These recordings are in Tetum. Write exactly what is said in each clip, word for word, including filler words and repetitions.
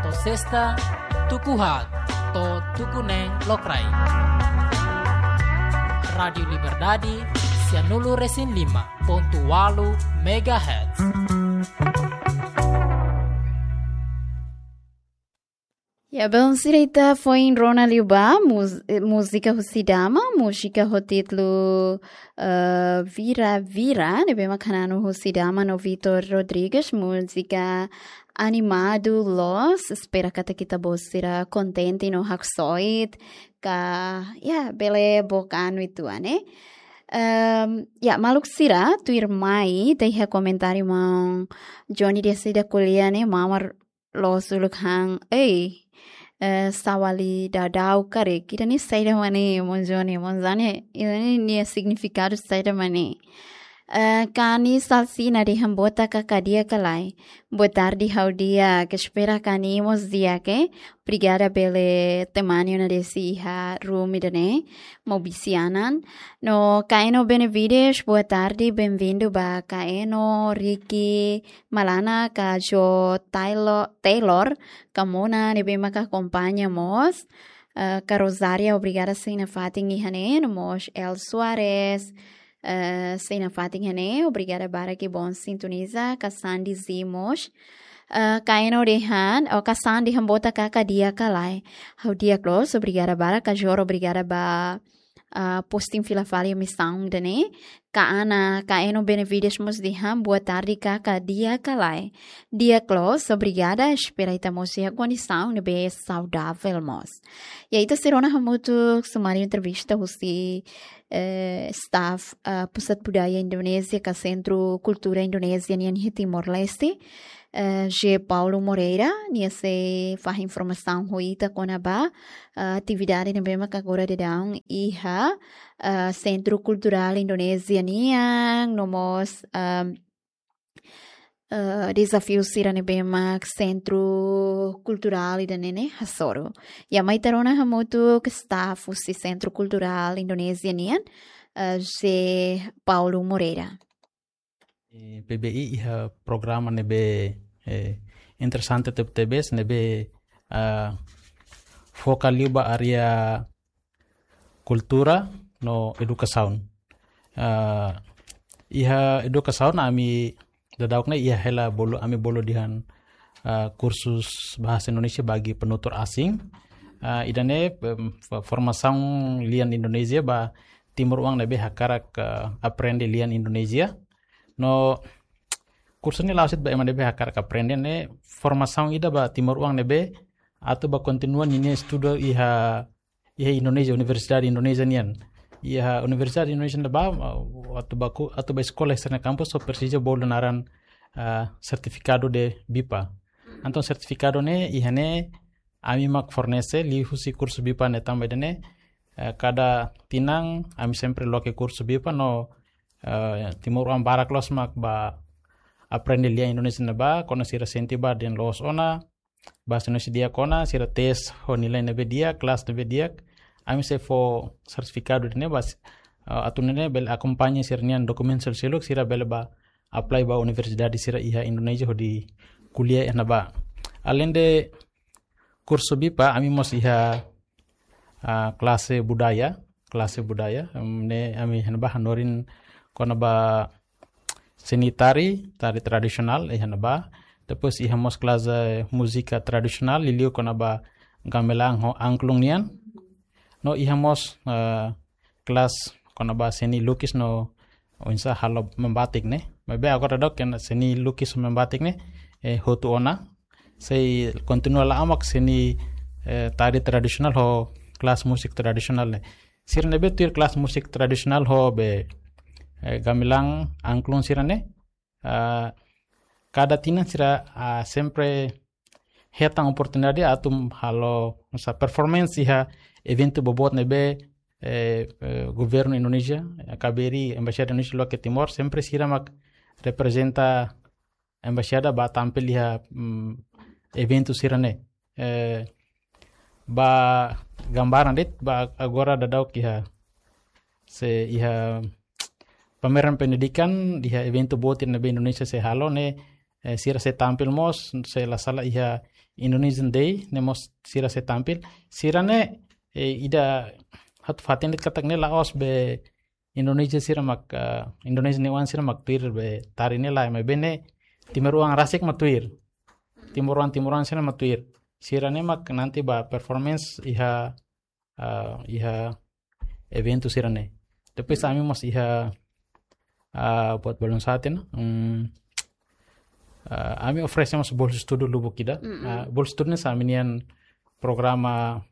Sesta, tuku haat to'o tuku neen lokraik. Rádiu Liberdade, sianulu resin lima pontu walu megahertz. Ya, belun sira, ita foin rona liu ba mus-, eh, múzika husi dama, múzika ho títulu, eh, Vira Vira, ne'ebé mak hananu husi dama no Vitor Rodrigues, múzika animadu loos, espera katak ita-boot sira kontente no haksoit, ka, ya, bele book an uitoan, eh. Ehm, ya, maluk sira, tuirmai, ita iha komentáriu maun Johnny de Seda Kuliah ne'e, mamar loos uluk han, ei, eh, sawali dadau karik. Ida-ne'e saida mak ne'e, maun Johnny, maun Johnny, ida-ne'e nia signifikadu saida mak ne'e. Eh, Kani Salsina dehan botak kaka di'ak ka lae. Boa tarde, ha'u di'ak, espera Kani mós di'ak, eh. Obrigada bele temani ona Desi iha room ida-ne'e, Mobisianan. No Kaeno Benevides, boa tarde, bem-vindo ba Kaeno, Ricky, Malana, ka Jo Taylor, Taylor, ka Mona, ne'ebé maka akompaña mós. Eh, ka Rosaria, obrigada, sei nafatin iha ne'e, no mós El Soares, eh, sei nafatin iha ne'e, obrigada barak, que bom sintoniza, ka Sandy Zimos. Eh, Kaeno dehan, o ka Sandy dehan botak kaka di'ak ka lae. Ha'u di'ak loos, obrigada barak, ka Jor, obrigada ba ah, posting fila fali misaun ida-ne'e. Ka Ana, Kaeno Benevides mós dehan, boa tarde, kaka di'ak ka lae. Di'ak loos, obrigada, espera ita mós iha kondisaun ne'ebé saudavel mós. Ya, ita sei rona hamutuk sumáriu entrevista husi, eh, staff, ah, Pusat Budaya Indonézia ka Sentru Kultura Indonézia nian iha Timor-Leste. Eh, José Paulo Moreira, nia sei fahe informasaun ho ita kona-ba, eh, atividade ne'ebé mak agora daudaun iha, eh, Sentru Kulturál Indonézia nian, no mós, ehm, eh, dezafiu sira ne'ebé mak Sentru Kulturál ida-ne'e hasoru. Ya, mai ita rona hamutuk staff husi Sentru Kulturál Indonézia nian, eh, José Paulo Moreira. Eh, P B I iha programa ne'ebé, eh, interesante tebetebes, ne'ebé, ah, foka liu ba área kultura no edukasaun. Ah, iha edukasaun ami daudaun ne'e iha hela bolu, ami bolu dehan, ah, kursus bahasa Indonesia bagi penutur asing. Ah, ida-ne'e, em, fo-, formasaun lian Indonézia ba timoroan ne'ebé hakarak, ah, aprende lian Indonézia. No kursu ne'e la'ós de'it ba ema ne'ebé hakarak aprende, ne'e formasaun ida ba timoroan ne'ebé atu ba kontinua ninia estudu iha, iha Indonézia, universidade Indonézia nian. Iha universidade Indonézia ne'ebá, atu ba ku-, atu ba eskola iha sira-nia kampus, só presiza bolu naran, ah, sertifikadu de BIPA. Entaun sertifikadu ne'e, iha ne'e, ami mak fornese, liuhusi kursu BIPA ne'e tanba ida-ne'e, eh, kada tinan, ami sempre loke kursu BIPA no, eh, timoroan barak loos mak ba aprende lian Indonézia ne'ebá, kuandu sira sente ba dehan loos ona, bahasa Indonesia di'ak ona, sira tes ho nilai ne'ebé di'ak, kelas ne'ebé di'ak, ami sei fó sertifikadu ida-ne'e ba, eh, atu nune'e bele akompaña sira-nia dokumentu seluk, sira bele ba apply ba universidade sira iha Indonézia hodi kuliah iha ne'ebá. Além de kursu BIPA, ami mós iha, ah, klase budaya, klase budaya, em, ne'e ami iha ne'ebá hanorin kona-ba seni tari, tari tradisionál, iha ne'ebá. Depois iha mós klase múzika tradisionál, liuliu kona-ba gamelan ho angklung nian. No iha mós, eh, kelas kona-ba seni lukis no oinsá halo membatik ne'e. Maibé agora daudaun seni lukis ho membatik ne'e, eh, hotu ona. Sei kontinua la'o mak seni, eh, tari tradisionál ho kelas musik tradisionál ne'e. Sira ne'ebé tuir kelas musik tradisionál ho be, eh, gamelan angklung sira-ne'e, ah, kada tinan sira, ah, sempre hetan oportunidade atu halo, oinsá, performance iha eventu boboot ne'ebé, eh, eh, governu Indonézia, eh, K B R I, Embaixada Indonézia loke iha Timor, sempre sira mak reprezenta embaixada ba tampil iha, mm, eventu sira-ne'e. Eh, ba gambaran de'it, ba agora daudaun iha, se iha pameran pendidikan, iha eventu boot ne'ebé Indonézia sei halo ne'e, eh, sira sei tampil mós, se la sala iha Indonesian Day ne'e mós sira sei tampil. Sira ne'e, eh, ida atu fatin de'it katak ne'e la'ós be Indonesia sira mak, eh, Indonesia nia oan sira mak tuir be tari ne'e lae, maibé ne'e timoroan rasik mak tuir. Timoroan, timoroan sira mak tuir. Sira ne'e mak nanti ba performance iha, eh, iha eventu sira ne'e. Depois ami mós iha, ah, buat balun satin, hmm, ah, ami oferese mós bolsa estudu lubuk ida. Mm-mm. Ah, bolsa estudu ne'e hanesan ami-nian programa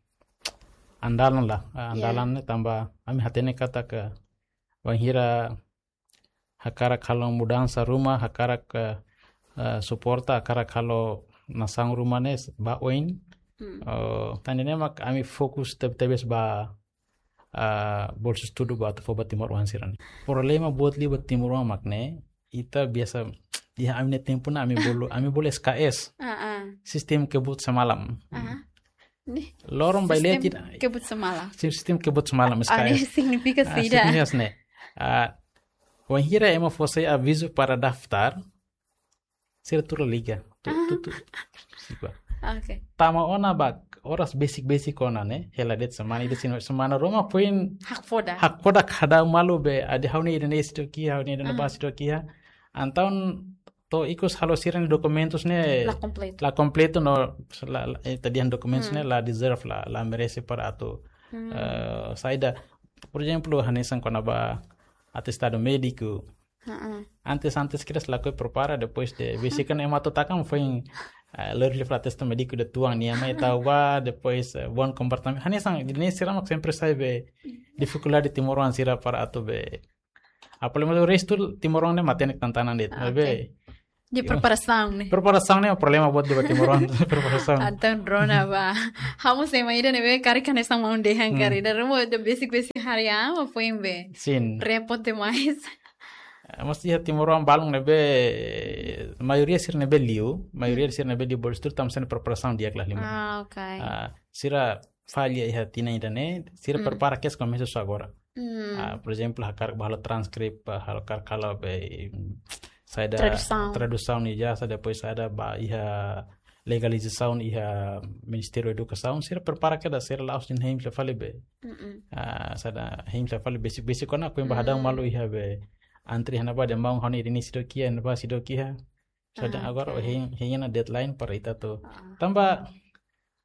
andalan lah, ah, Ya. andalan ne'e tanba ami hatene katak bainhira hakarak halo mudansa ruma, hakarak, eh, eh, suporta, hakarak halo nasaun ruma ne'e ba oin. Hmm. Eh, tan ne'e mak ami fokus teb-, tebes ba, eh, bolsa estudu ba atu fó ba timoroan sira ne'e. Problema boot liu ba timoroan mak ne'e, ita biasa, iha ami-nia tempu ne'e ami bolu, ami bolu S K S. Ah, ah. Sistema kebut semalam. Aha. Ne'e? Loron ba Sistema lia tida. Kebut semalam. Sistema kebut semalam, Ah, ne'e S K S. signifika Ah, saida? signifika ne'e. Ah, wainhira ema fó sai avizu para daftar, sira tuur la liga. Tu, Ah. tu, tu. Sipa. Oke. Tama ona ba oras besik-besik ona ne'e, hela de'it semana ida, sino semana ruma foin Hakfodak. hakfodak, hadau malu be, adi ha'u-nia ida-ne'e seidauk iha, ha'u-nia ida-ne'e Ah. bá seidauk iha. Entaun to'o ikus halo sira-nia dokumentus ne'e La kompletu. la kompletu no la, la, eh, ita-nia dokumentus Hmm. ne'e la deserve, la, la merese para atu, Hmm. eh, saida, por ezemplu, hanesan kona-ba atestadu médiku. Heeh. Antes, antes kedas lakohi prepara, depois de besik ne'e ema atu taka foin, eh, lori liu fali atestadu médiku ida tuan nia mai tau ba, depois, eh, bom comportamento. Hanesan, ne'e sira mak sempre sai be difikuldade timoroan sira para atu be. Apalagi restu timoroan ne'e matenek tantanan de'it, Ah, maibé. oke. Di Yo. preparasaun ne'e. Preparasaun ne'e problema boot liu ba timoroan, preparasaun. Entaun rona ba. Ha'u mós ema ida ne'ebé karik hanesan maun dehan Hmm. karik. Ida ruma ida besik-besik harian, mak foin be. Sin. Repot demais. Eh, mas iha timoroan balun ne'ebé, maioria sira ne'ebé liu, maioria Hmm. sira ne'ebé liu bolsa estudu tanba sira-nia preparasaun di'ak la halimar. Ah, oke. Ah, sira falla iha tinan ida-ne'e, sira Hmm. prepara kedas komesa husi agora. Hmm. Ah, por ezemplu, hakarak ba halo transkrip, ah, hakarak halo be, mm, saida Tradusaun. tradusaun ijazah, depois saida ba iha legalizasaun iha Ministériu Edukasaun, sira prepara kedas, sira la'ós de'it hein fila fali be. Mm-mm. Ah, saida hein fila fali besik-besik ona, foin ba hadau Hmm. malu iha be antre iha ne'ebá dehan maun ha'u-nia ida-ne'e seidauk iha, ne'ebá seidauk iha. Saida Ah, agora oke. hein, hein ona deadline para ita atu. Ah. Tanba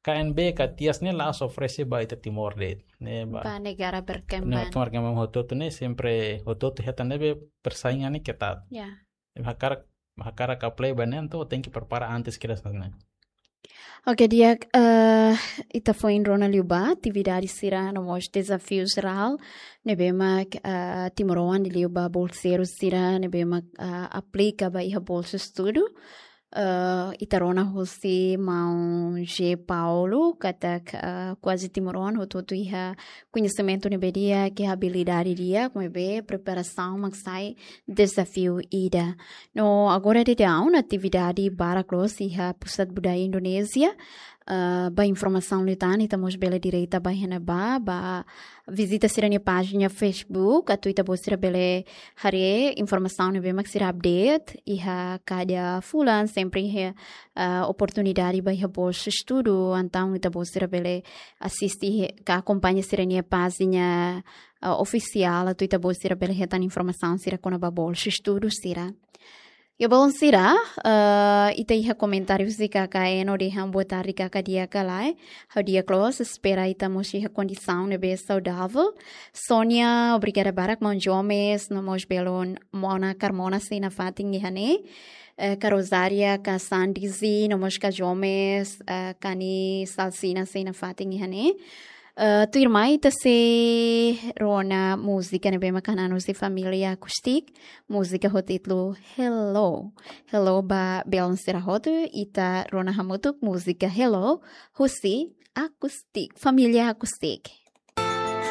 K N B ka TIAS ne'e la'ós oferese ba ita Timor de'it. Ne'e ba. Ba negara Ne'e berkembang. Negara berkembang hotu-hotu ne'e sempre hotu-hotu hetan ne'ebé persaingan ne'e ketat. Ya. Ne'ebé hakarak, hakarak apply ba ne'e entaun tenke prepara antes kedas ne'e. Oke, di'ak, eh, ita foin rona liu ba atividade sira no mós dezafiu jerál ne'ebé mak, eh, timoroan liu ba bolseiru sira ne'ebé mak, eh, aplika ba iha bolsa estudu. Eh, ita rona husi maun G Paulo, katak, eh, kuaze timoroan hotu-hotu iha koñesimentu ne'ebé di'ak, iha abilidade di'ak, maibé preparasaun mak sai dezafiu ida. No agora daudaun atividade barak loos iha Pusat Budaya Indonézia. Eh, ba informasaun liután, ita mós bele direta ba iha ne'ebá, ba vizita sira-nia pájina Facebook, atu ita-boot sira bele haree informasaun ne'ebé mak sira update iha kada fulan, sempre iha, eh, oportunidade ba iha bolsa estudu, entaun ita-boot sira bele asiste ka akompaña sira-nia pájina, eh, ofisiál, atu ita-boot sira bele hetan informasaun sira kona-ba bolsa estudu sira. Ya, balun sira, eh, ita iha komentáriu husi K K N dehan boa tarde, K K di'ak ka lae. Ha'u di'ak loos, espera ita mós iha kondisaun ne'ebé saudavel. Sónia, obrigada barak, maun Jomes, no mós belun Mona Carmona sei nafatin iha ne'e. Eh, ka Rosária, ka Sandizi, no mós ka Jomes, eh, ka Ni Salsina sei nafatin iha ne'e. Eh, tuirmai ita sei rona múzika ne'ebé mak hanan husi família Acoustic, múzika ho títulu Hello. Hello ba belun sira hotu, ita rona hamutuk múzika Hello husi Acoustic, família Acoustic.